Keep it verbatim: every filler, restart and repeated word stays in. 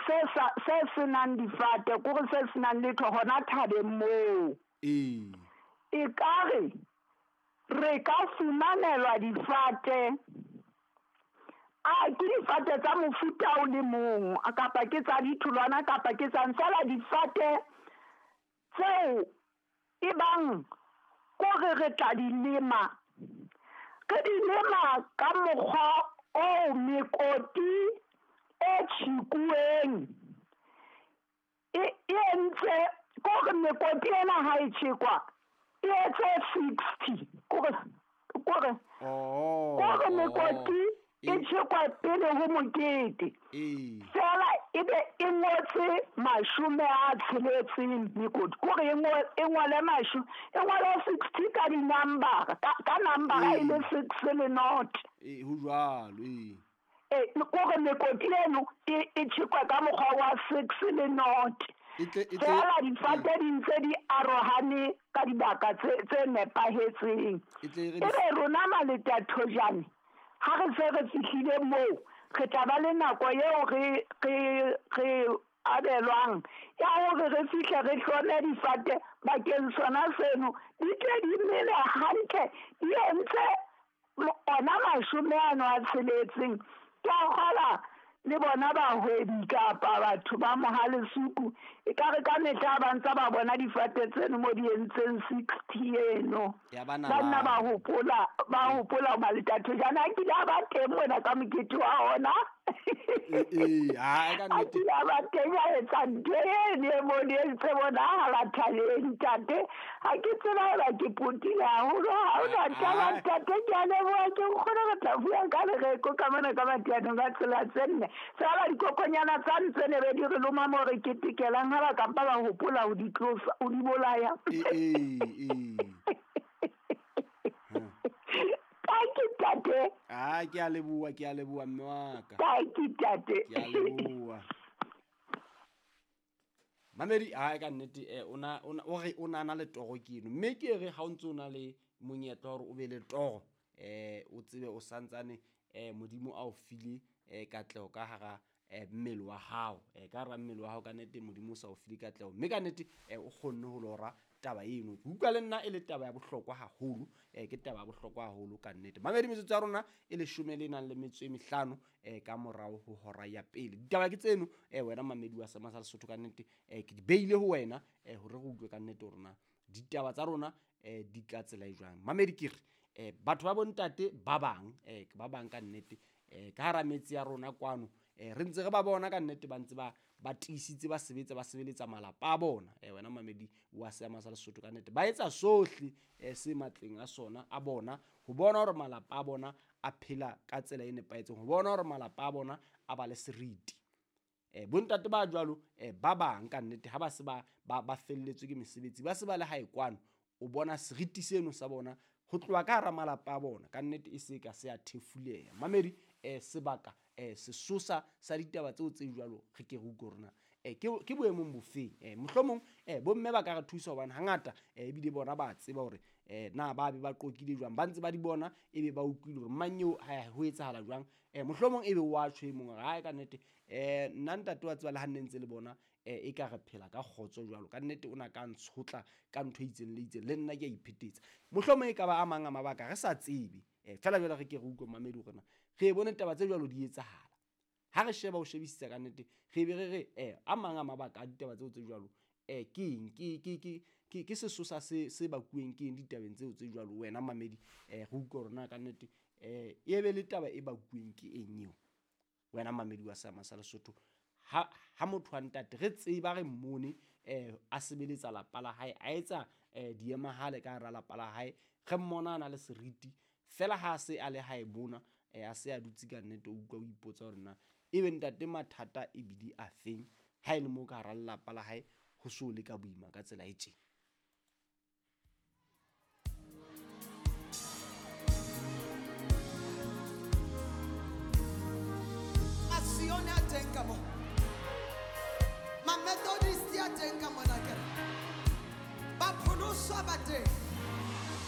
se sa se senang difate kore se senang letho hona thabeng moo. Ee. E ka re re ka fumanelwa difate, a ke difate tsa mofuta o le mong, kapa ke tsa ditholwana kapa ke tsa fela difate tseo e bang kore re tla di lema, re di lema ka mokgwa o mekoti e tjhekuweng e entse kore mekoti ena ha e tjhekwa e etse sixty kore kore kore mekoti e tjhekwa pele ho mokete fela e be e ngotse mashome a tsheletseng mekoti kore e ngole masho e ngole sixty ka di-number ka number e le six le not. Ee, ho jwalo. Ee, e kore mekoti eno e tjhekwa ka mokgwa wa six le not. Fela difate di ntse di arohane ka dibaka tse nepahetseng. E be rona Maletathojane ha re se re fihlile moo re tla ba le nako eo re re re abelwang ya hore re fihle re hlome difate bakeng sona seno di tle di mele hantle di entse ona mashome ano a tsheletseng. Ke a kgola le bona bahwebi kapa batho ba Mohalesuku e ka re ka mehla ba ntse ba bona difate tseno mo di entseng sixty eno ba nna ba hopola ba hopola Maletathojane a kile a ba teng mona ka mokete wa ona. Ee, ha ka nnete a kile a ba teng a etsa ntho eno e mo di entse bonahala thabeng ntate. Ha ke tseba hoba ke potile haholo ha hona taba ntate, ke a leboha ke nkgone re tla bua ka lereko ka mona ka matianong a tsela tse nne. Fela dikokonyana tsa ntse ne be di re loma mo re ketekelang ha ba kampa ba hopola ho di tlosa ho di bolaya. Ee, ee. Thank you, tate. Ah, ke a leboha, ke a leboha mme wa ka. Thank you, tate. Ke a leboha. Mamedi, ha ka nnete eh ona o re o nana le toro ke eno. Mme ke re ha o ntse o na le monyetla hore o be le toro, eh o tsebe o santsane eh Modimo a o file eh katleho ka hara mmele wa hao. Eh ka hara mmele wa hao ka nnete Modimo o sa o file katleho. Mme ka nnete o kgonne ho lora taba eno. Ke utlwa le nna e le taba ya bohlokwa haholo, eh ke taba ya bohlokwa haholo ka nnete. Mamedi, metsotso ya rona e leshome le nang le metso e mehlano eh ka morao ho hora ya pele. Ditaba ke tseno eh wena mamedi wa Seema sa Lesotho ka nnete eh ke di beile ho wena eh hore re utlwe ka nnete hore na ditaba tsa rona eh di ka tsela e jwang. Mamedi ke re eh batho ba bontate ba bang eh ba bang ka nnete eh ka hara metsi ya rona kwano eh re ntse re ba bona ka nnete ba ntse ba ba tiisitse ba sebetsa ba sebeletsa malapa a bona. Eh wena mamedi wa Seema sa Lesotho ka nnete ba etsa sohle eh se matleng a sona a bona ho bona hore malapa a bona a phela ka tsela e nepahetseng, ho bona hore malapa a bona a ba le seriti. Eh bontate ba jwalo eh ba bang ka nnete ha ba se ba ba felletswe ke mesebetsi ba se ba le hae kwano, o bona seriti seno sa bona ho tloha ka hara malapa a bona ka nnete e se ka se a thefuleha. Mamedi eh sebaka eh sesosa sa ditaba tseo tse jwalo re ke re utlwe rona eh ke ke boemong bofeng. Eh mohlomong eh bomme ba ka re thusa hobane hangata eh ebile bona ba tseba hore eh na ba be ba qokile jwang, ba ntse ba di bona ebe ba utlwile hore mang eo ha ho etsahala jwang. Eh mohlomong ebe wa tjho e mong ha ka nnete eh nna ntate wa tseba le ha nne ntse le bona eh e ka re phela ka kgotso jwalo ka nnete o na ka ntshotla ka ntho e itseng le itseng le nna ke a iphetetsa. Mohlomong e ka ba a mang a mabaka re sa tsebe. Eh fela jwale re ke re utlwe mamedi hore na re bone taba tse jwalo di etsahala. Ha re sheba o shebisisa ka nnete re be re re eh a mang a mabaka a ditaba tseo tse jwalo eh ke eng ke ke ke ke sesosa se se bakueng ke eng ditabeng tseo tse jwalo wena mamedi eh re utlwe hore na ka nnete eh e be le taba e bakueng ke eng eo wena mamedi wa Seema sa Lesotho. Ha ha motho wa ntate re tseba re mmone eh a sebeletsa lapa la hae a etsa eh diemahale ka hara lapa la hae re mmona a na le seriti fela ha se a le hae bona eh a se a dutse ka nnete o utlwa o ipotsa hore na ebe ntate mathata e bile a feng ha e le mo ka hara lelapa la hae ho so le ka boima ka tsela e tjena. Asione a teng ka mo, ma Methodist a teng ka mona kere, ba pholoswa ba teng.